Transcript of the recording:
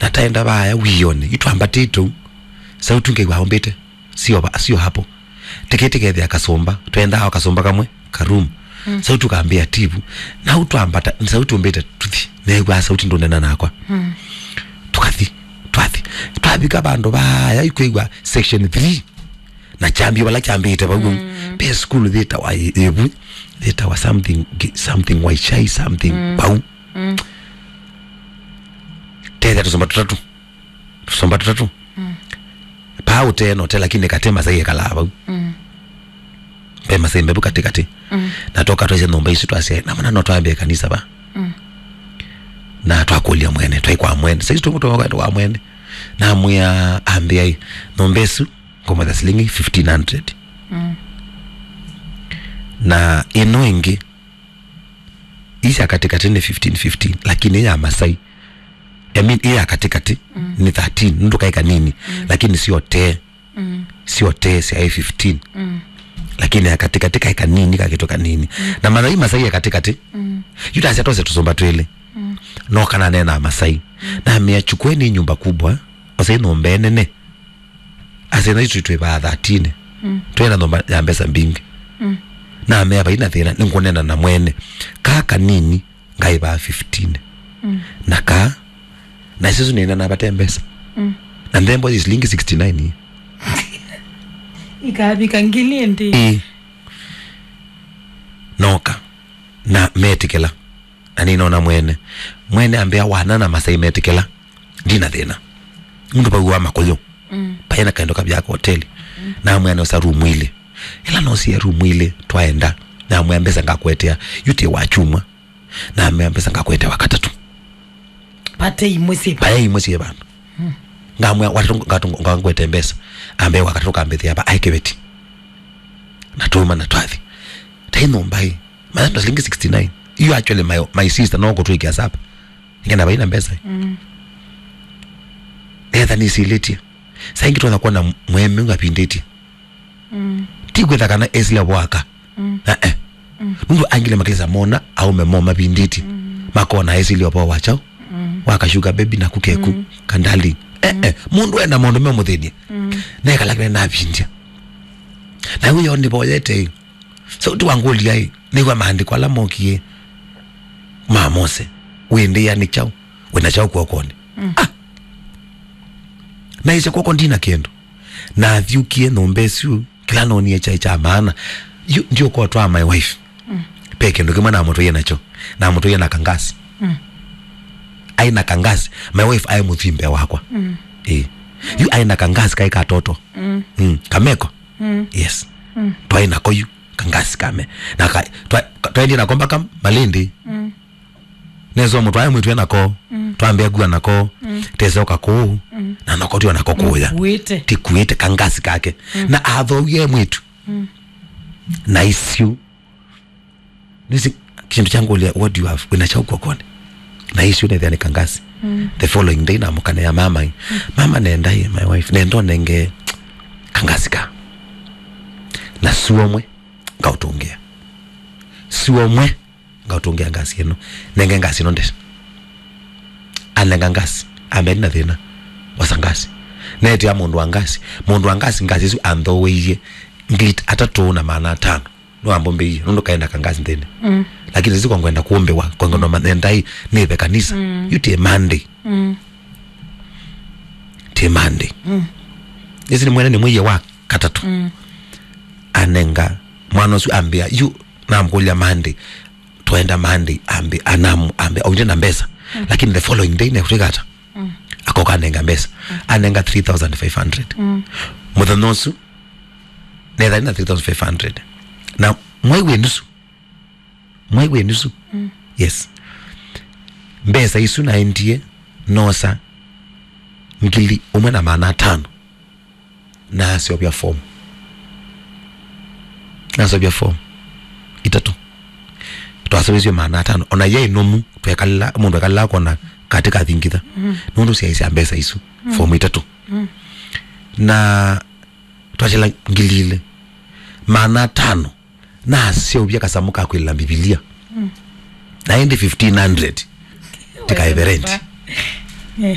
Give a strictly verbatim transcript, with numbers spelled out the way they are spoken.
Na taenda vaya wĩonĩ, yu twambatĩte ũu. Sauti ngaigua aumbĩte. Sio va-, sio hapo. Tikĩti kethĩa kasũmba. Twendaa o kasũmba kamwe, ka room. Mm. Sauti ũkambĩa tivu. Na u twambata, sauti ũmbĩte tuthi. Neew'aa sauti ndũnena nakwa. Mm. Tũkathi, twathi. Twavika vandũ vaya, yu kwĩw'a section three. Na kyambio vala kyambĩte vau. Mm. Pe school thĩtawa ĩ-, ĩvu, thĩtawa something, something Waishai, something Mm. vau. Mm. Tethĩa tũsũmba tũtatũ. Tũsũmba tũtatũ. Mm. Paa ũtee na ũtee, lakini katĩ Masai ekalaa vau. Mm. Pe Masai mbevu katĩ katĩ. Mm. Na toka twaisye nyũmba isu twasya, na mana no twambie kanisa va. Mm. Na twakũlya mwene, twai kwa mwene. Saizi tũmũtũma kwa mwene. Na mwĩa ambĩa, "Nyũmba ĩsu ngũmũtha silingi fifteen hundred." Mm. Na ĩno ĩngĩ, ii sya katĩkatĩ nĩ fifteen fifteen, lakini ya Masai, I mean, ii ya katĩkatĩ Mm. nĩ thirteen, nũndũ kaĩ kanini, Mm. lakini sio tee. Mm. Sio tee syaĩ fifteen. Mm. Lakini ya katĩkatĩ kaĩ kanini, kakĩtwe kanini. Mm. Na Masai, Masai ya katĩkatĩ, Mm. yu tasya twose tũsũmba twĩlĩ. Mm. No kana nena Masai. Mm. Namĩa, "Chukweni nyumba kubwa, osei nyũmba ĩnene." Asena itũ twĩ vaa thirteen. Mm. Twĩna nyũmba ya mbesa mbingĩ. Mm. Namea, "Vaina thĩna, nĩngũnena na mwene. Kaa kanini, ngaĩ vaa fifteen." Mm. Na kaa, na sisi nĩna na vate mbesa. Mm. Na nthembo ĩ silingi sixty-nine. Ikavika ngili ĩndĩ. Ĩ. Noka. Na metĩkĩla. Na nĩnona mwene. Mwene ambĩa, "Wana na Masai metĩkĩla. Ndina thĩna." Mũndũ vau wa makũyũ. Mm. Paĩ na kaendo kavya ka hoteli. Mm. Na mwene osa rumu ilĩ. Ĩla nosie rumu ilĩ, twaenda. Na mwene mbesa ngakwetea. Yu ti wa chuma. Na mwene mbesa ngakwetea wa katatũ. Pate imwe si. Paĩ imwe si vandũ. Mm. Ngamwĩa, "Watatũ ngatũ-, ngangwete mbesa." Ambe wa katatũ kambĩthĩa va, aĩ kĩveti. Na tuma na twathi. Tai nyũmba ĩ. Mathanda silingi sixty-nine. You actually my, my sister no kũtwĩkĩa sapa. Nĩkenda vaina mbesa. Mm. Netha nĩsilĩtie. Saa ingĩ twona kuona mweme ngapindĩtie. Mm. Ti kwĩtha kana esile vwaka. Mm. Eh, eh. Mm. Nũndũ angĩ nĩmakĩlĩsa mona aume mo mavindĩtye. Mm. Makona esile ũvoo wa kyaũ. Mm. Wa ka sugar baby na kukeku. Mm. Ka darling. Eh, eh. Mũndũ ena maũndũ me mũthĩny'e. Mm. Nekalakile navindya. Na wĩyo nĩvoyete ĩ. Sauti wangũlya ĩ. Nĩw'a maandĩko ala mokie ma Mose. Wĩndĩa nĩ kyaũ. Wĩna kyaũ kw'okonĩ. Mm. Ah! Naisye kw'oko ndina kĩndũ. Nathyũkie nyũmba ĩsu, kĩla noonie kyaĩ kya maana. Yu, ndiũka ũtwaa my wife. Mm. Ve kĩndũ kĩmwe namũtwaie nakyo. Namũtwaie na kangasi. Mm. Aĩ na kangasi. My wife aĩ mũthwii mbee wakwa. Mm. Ĩĩ. Yu aĩ na kangasi kaĩ katoto. Mm. Mm. Kameko. Mm. Yes. Mm. Twaĩ nako yu. Kangasi kame. Na ka, twa, ka, twaendie nako mpaka Malindi. Mm. Nesa mũtwae mwĩtwe nako, Mm. twambĩa kua nako, Mm. teseoka kũu, Mm. na nako tio nako kũya. Kuĩte. Tikuĩte kangasi kake. Mm. Na athowie mwĩtu. Mm. Na isu. Nisi, kĩndũ kya ngũlya, "What do you have?" Wĩna kyaũ kw'okonĩ? Na isu nethĩa nĩ kangasi. Mm. The following day namũkanĩa mama ĩ. Mm. "Mama nenda ĩ, my wife, nenda ũnenge kangasi ka. Na suo mwe, ngaũtũngĩa. Suo mwe." Ngaũtũngĩa ngasi ĩno. Nenge ngasi ĩno ndese. Anenga ngasi. Ambĩa, "Ndina thĩna. Osa ngasi." Neetia mũndũ wa ngasi. Mũndũ wa ngasi, ngasi ĩsu anthooeie ngili atatũ na maana atano. Nĩwambũmbĩie. Nũndũ kaĩ na kangasi nthĩnĩ. Mm. Lakini sisi kwa ngwenda kũmbĩwa. Kwa ngwenda manyenda ĩ. Nĩve kanisa. Mm. Yu ti Monday. Mm. Ti Monday. Mm. Ĩsu nĩ mwene nĩ mwĩie wa katatũ. Mm. Anenga. Mwana ũsu ambĩa, yu namkũlya Monday. Twaenda Monday, ambe, anamu, ambe, aunje na mbesa. Mm. Lakini the following day, nekutwika ata? Mm. Akoka anenga mbesa. Mm. Anenga three thousand five hundred. Mm. Mũthenya ũsu, netha na three thousand five hundred. Na mwai wĩ nusu. Mwai wĩ nusu. Mm. Yes. Mbesa isu naendie, nosa, ngili ũmwe na maana atano. Naseũvya form. Naseũvya form itatũ. Twaseũvisye maana atano. Ona yaĩ nũmu, twekala, mũndũ ekalaa kona katĩ kathingitha. Mm. Nũndũ syaĩ sya mbesa isu. Mm. Form itatũ. Mm. Na twatela ngili ilĩ. Maana atano. Naseũvya kasamũ ka kwĩlĩla Mbivilia. Mm. Na ĩndĩ fifteen hundred. Tikaĩve rent. Eh.